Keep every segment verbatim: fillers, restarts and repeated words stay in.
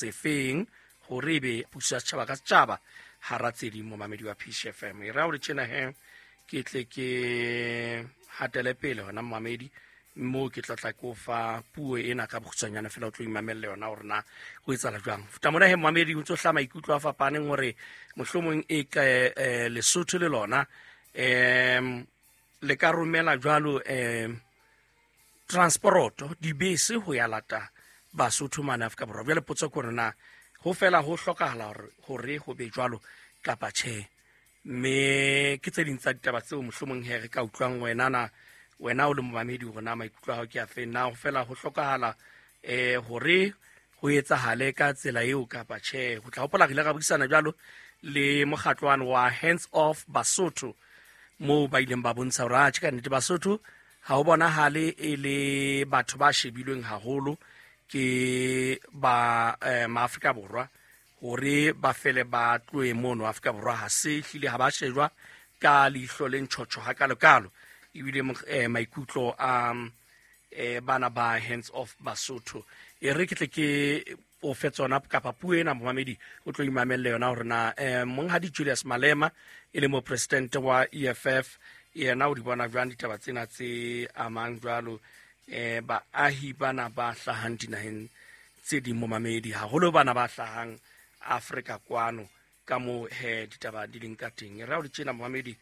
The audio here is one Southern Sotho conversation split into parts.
Sefeng hore ebe puso ya setjhaba ka setjhaba hara tse ding, momamedi wa P C F M. E ra hore tjena he ke tle ke hatele pele hona, momamedi, moo ke tla tla ke o fa puo ena ka bokgutshwanyane fela, o tlo imamelle yona hore na ho etsahala jwang. Futa mona he, momamedi, o ntso hlaha maikutlo a fapaneng hore mohlomong e ka eh, Lesotho le lona um le ka romela jwalo um transporoto, dibese ho ya lata Basotho mane Afrika Borwa. Jwale potso ke hore na ho fela ho hlokahala hore hore ho be jwalo kapa tjhe. Mme ke tse ding tsa ditaba tseo mohlomong he re ka utlwang wena na wena o le momamedi hore na maikutlo a hao ke a feng, na ho fela ho hlokahala eh hore ho etsahale ka tsela eo kapa tjhe. Ho tla hopola re ile ra buisana jwalo le mokgatlo wane wa Hands Off Basotho, moo ba ileng ba bontsha hore atjhe, ka nnete Basotho ha ho bonahale e le batho ba shebilweng haholo ke ba eh, maAfrika Borwa hore ba fele ba tlohe mono Afrika Borwa. Ha se hlile ha ba shejwa ka leihlo le ntjhotjho hakalokalo. Ebile eh, maikutlo a eh, bana ba Hands Off Basotho, e re ke tle ke o fe tsona kapa puo ena, momamedi, o tlo imamelle yona hore na eh, monghadi Julius Malema e le mopresidente wa E F F yena o di bona jwang ditaba tsena tse amang jwalo eh baahi bana ba hlahang dinaheng tse ding, momamedi, haholo bana ba hlahang Afrika kwano, ka mo he ditaba di leng ka teng. Re ha o di tjena, momamedi,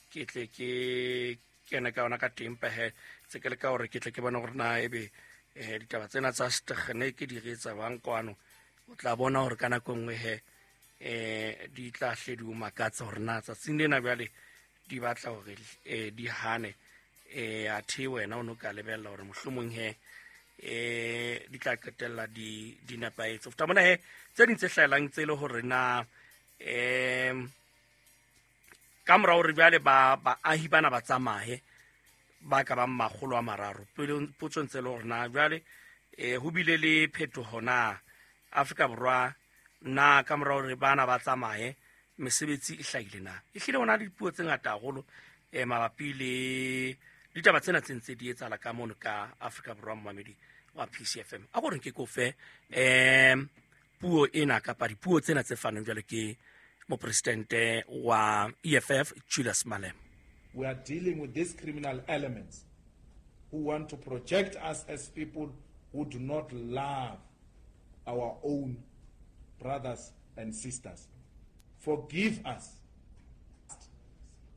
ke tle ke kene ka yona ka teng pehe tse ke le ka hore ke tle ke bone hore na ebe eh ditaba tsena tsa setekgeneke di re etsa bang kwano. O tla bona hore ka nako e nngwe he eh di tla hle di o makatsa hore na tsatsing lena jwale di batla hore eh di hane eh athe wena o no ka lebella hore mohlomong he eh di tla qetella di di nepahetse. Ho feta mona he, tse ding tse hlahelang tse le hore na um ka mora hore jwale ba baahi bana ba tsamaye ba ka bang makgolo a mararo, pele potso ntse le hore na jwale eh ho bile le phetoho na Afrika Borwa, na ka mora hore bana ba tsamaye mesebetsi e hlahile na. E hlile ho na le dipuo tse ngata haholo eh mabapi le ditaba tsena tse ntse di etsahala ka mono ka Afrika Borwa. Momamedi wa P C F M, a gore nke ko fe um puo ena kapa dipuo tsena tse faneng jwale ke mopresidente wa E F F, Julius Malema. We are dealing with these criminal elements who want to project us as people who do not love our own brothers and sisters. Forgive us.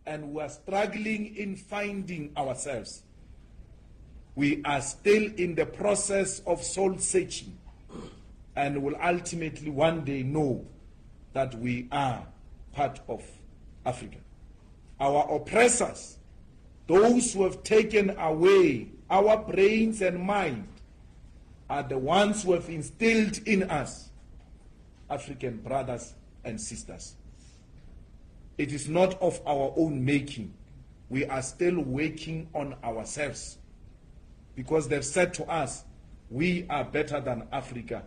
And we are struggling in finding ourselves. We are still in the process of soul searching and will ultimately one day know that we are part of Africa. Our oppressors, those who have taken away our brains and mind, are the ones who have instilled in us African brothers and sisters. It is not of our own making. We are still working on ourselves because they've said to us, we are better than Africa.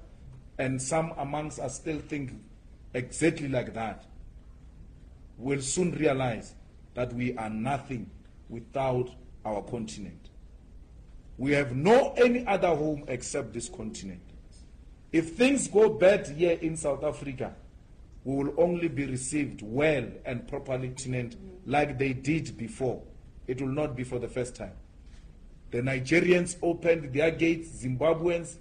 And some amongst us still think exactly like that. We'll soon realize that we are nothing without our continent. We have no any other home except this continent. If things go bad here in South Africa, we will only be received well and properly like they did before. It will not be for the first time. The Nigerians opened their gates, Zimbabweans,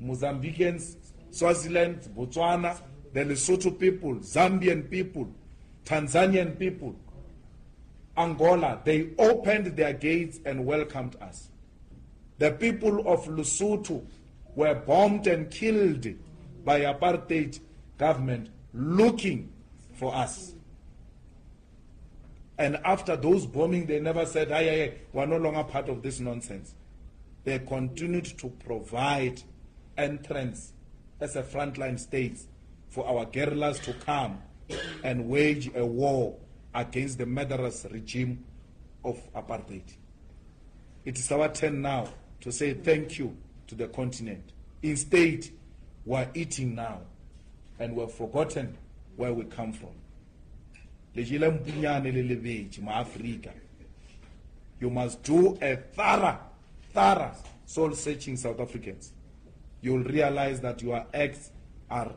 Mozambicans, Swaziland, Botswana, the Lesotho people, Zambian people, Tanzanian people, Angola, they opened their gates and welcomed us. The people of Lesotho were bombed and killed by apartheid government looking for us. And after those bombing, they never said, "Aye, aye, aye, we're no longer part of this nonsense." They continued to provide entrance as a frontline state for our guerrillas to come and wage a war against the murderous regime of apartheid. It is our turn now to say thank you to the continent. Instead, we're eating now and we've forgotten where we come from. Le jele mpunyane le lebetse, maAfrika. You must do a thorough, thorough soul searching, South Africans. You'll realize that your acts are